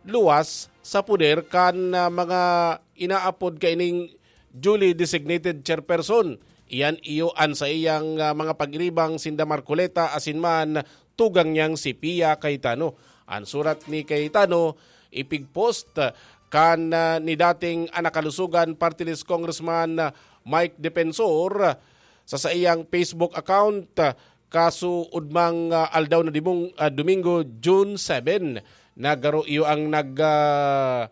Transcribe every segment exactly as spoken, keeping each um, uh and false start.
luwas sa poder kan, ah, mga inaapod kaining duly designated chairperson. Iyan iyo an saiyang, ah, mga pagiribang sinda Marcoleta asin man tugang niyang si Pia Cayetano. An surat ni Cayetano ipigpost kan, ah, ni dating Anak Kalusugan Party List Congressman, ah, Mike Defensor sa saiyang Facebook account, ah, kasuodmang, ah, aldaw na dimong, ah, Domingo, June seven, na garo iyo ang nag, ah,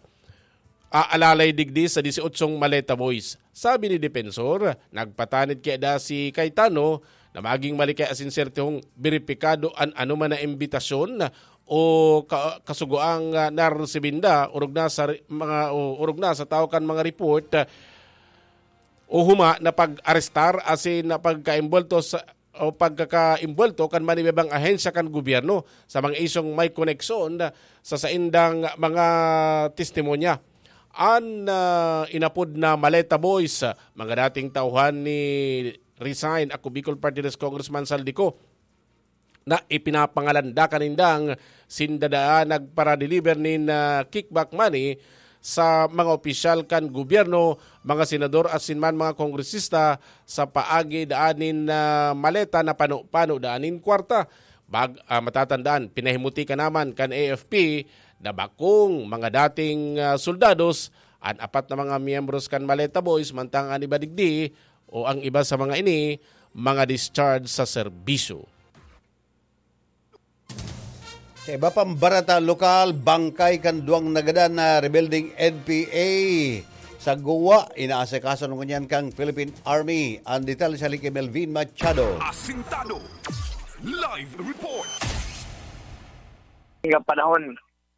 aalalay digdi sa disyotsyong Maleta Boys. Sabi ni Defensor, nagpatanid kaya da si Cayetano na maging malikay asin sertihong beripikado an anoman na imbitasyon o ka-, kasugoang, ah, naresibinda, orog na sa ri-, mga, o orog na sa tawo kan mga report, ah, o huma na pag-arestar asin na pagkaimbulto sa, o pagkakaimbulto kan manibebang ahensya kan gobyerno sa mga isyong may koneksyon sa saindang mga testimonya. An, ah, inapod na Maleta Boys, mga dating tauhan ni Resign Ako Bicol Party List Congressman Saldico, na ipinapangalan da kanindang sinda daa nagparadeliver nin, ah, kickback money sa mga opisyal kan gobyerno, mga senador asin man mga kongresista sa paagi daan nin, ah, maleta na pano-pano daan nin kwarta. Bag-, ah, matatandaan, pinahimuti ka naman kan A F P na bakong mga dating, ah, soldados an apat na mga miyembros kan Maleta Boys, mantang an iba digdi o ang iba sa mga ini, mga discharge sa serbisyo. Sa iba pang bareta lokal, bangkay kan duwang nagadan na rebeldeng N P A sa Goa, inaasikaso na ngunyan kan Philippine Army. Ang detalye sa Licky Melvin Machado. Asintado. Live report. Nga panahon,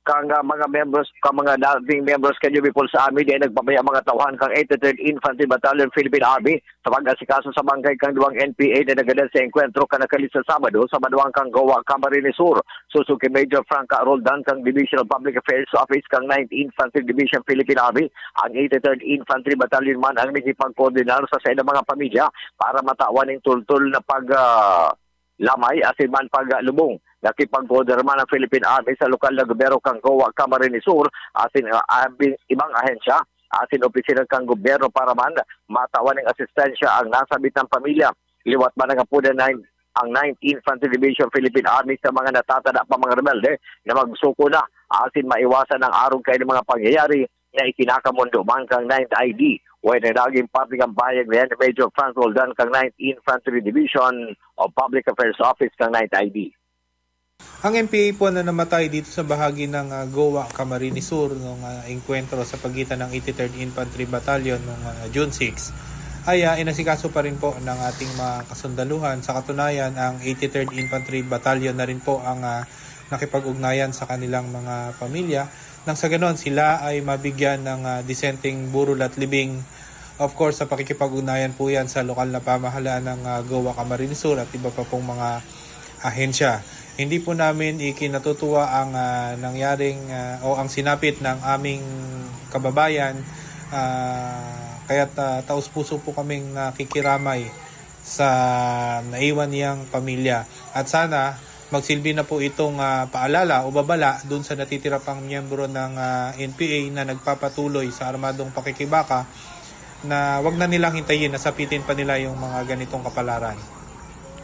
kang, ah, mga membros, kang mga dating membros kan New People's Army, di nagpabaya mga tauhan kang eighty-third Infantry Battalion Philippine Army sa pag-asikaso sa bangkay kang duwang N P A na nagadan sa engkwentro kan nakalit sa Sabado sa banwaan kang Goa, Camarines Sur. Susuki Major Franca Roldan kang Division of Public Affairs Office kang ninth Infantry Division Philippine Army, ang eighty-third Infantry Battalion man ang nakipagkoordinar sa saindang mga pamilya para matawan ning tultol na pag, ah, lamay asin man paglubong. Nakipagkoordinar man ang Philippine Army sa lokal na gobyerno kan Goa, Camarines Sur, asin, ah, abing ibang ahensya asin opisina kan gobyerno para man matawan ning asistensya ang nasabit na pamilya. Liwat man ang apodan na ang ninth Infantry Division Philippine Army sa mga natatada pa mga rebelde na magsuko na asin maiwasan ang arog kaini mga pangyayari na ikinakamondo man kan ninth I D. Way na naging parte kan pahayag na yan ni Major Franz Roldan kan ninth Infantry Division o Public Affairs Office kan ninth I D. Ang N P A po na namatay dito sa bahagi ng, ah, Goa, Camarines Sur, nung, ah, engkwentro sa pagitan ng eighty-third Infantry Battalion nung, ah, June six, ay, ah, inasikaso pa rin po ng ating mga kasundaluhan. Sa katunayan, ang eighty-third Infantry Battalion na rin po ang, ah, nakipag-ugnayan sa kanilang mga pamilya. Nang sa ganon, sila ay mabigyan ng, ah, disenteng burol at libing. Of course, sa pakikipag-ugnayan po yan sa lokal na pamahalaan ng, ah, Goa, Camarines Sur at iba pa pong mga ahensya. Hindi po namin ikinatutuwa ang, ah, nangyaring, ah, o ang sinapit ng aming kababayan. Ah, kaya't, ah, taos-puso po kaming nakikiramay sa naiwan niyang pamilya. At sana magsilbi na po itong, ah, paalala o babala dun sa natitira pang miyembro ng, ah, N P A na nagpapatuloy sa armadong pakikibaka na wag na nilang hintayin na sapitin pa nila yung mga ganitong kapalaran.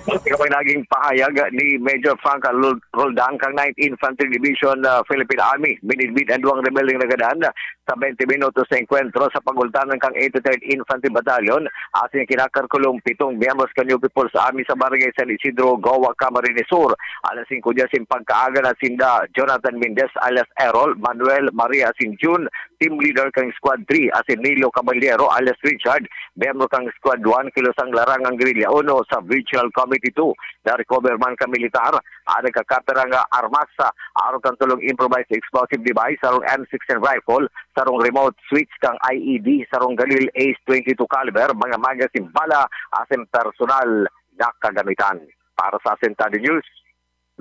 Ito po yung naging pahayag ni Major Frank Lul-, Roldan kang ninth Infantry Division, ah, Philippine Army. Binidbid ang duwang rebeldeng nagadan sa twenty minutos sa engkwentro sa pagultanan kang eighty-third Infantry Battalion, asin kinakarkulong pitong miyembros kan New People's Army sa Barangay San Isidro, Goa, Camarines Sur. Alas singko diya sin pagkaaga na sinda Jonathan Mendez alias Errol, Manuel Maria asin Jun, team leader kang Squad three, asin Nilo Caballero alias Richard, miyembro kang Squad one, kilosang larangang Guerrilla uno sa Regional Committee two. Na-recover man kan militar ang nagkakapirang armas, arog kan tolong improvised explosive device, sarong M sixteen rifle, sarong remote switch kang I E D, sarong Galil Ace twenty-two caliber, mga magazine, bala, asin personal na kagamitan. Para sa Asentado News,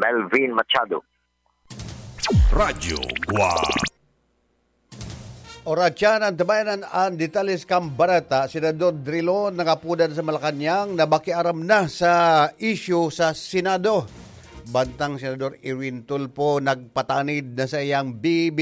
Melvin Machado. Radyo Guam. Oras yan, antabayanan an detalye kan bareta. Senador Drilon, nangapodan sa Malacañang, nabakiaram na sa isyu sa Senado. Bantang Senador Erwin Tulfo, nagpatanid na sa iyang bibit